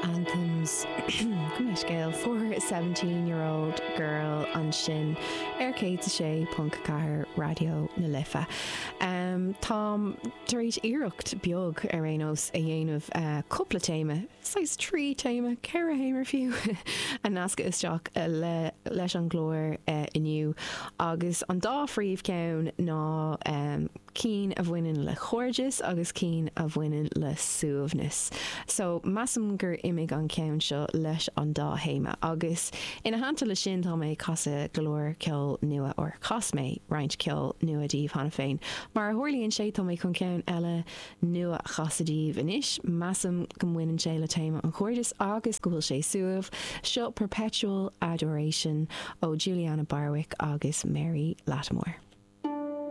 Anthems gabh mo leithscéal for 17 year old girl ansin ar 106.4 Raidió na Life. Táim tar éis iarracht beag ar aon nós a dhéanamh cúpla téama, saghas 3 téama, 4 théama fiú, a nascadh isteach le leis an gclár inniu agus an dá phríomhcheann ná cinn a bhaineann le cairdeas agus cinn a bhaineann le suaimhneas. So, measaim gur imigh an ceann seo leis an dá théama. Agus ina theannta le sin tá mé ag casadh go leor ceol nua, or chas mé roinnt ceol nua daoibh cheana féin. Mar a tharlaíonn sé tá mé chun ceann eile nua a chasadh daoibh anois. Measaim go mbaineann sé le téama an chairdis agus go bhfuil sé suaimh. Seo Perpetual Adoration ó Julianna Barwick agus Mary Lattimore.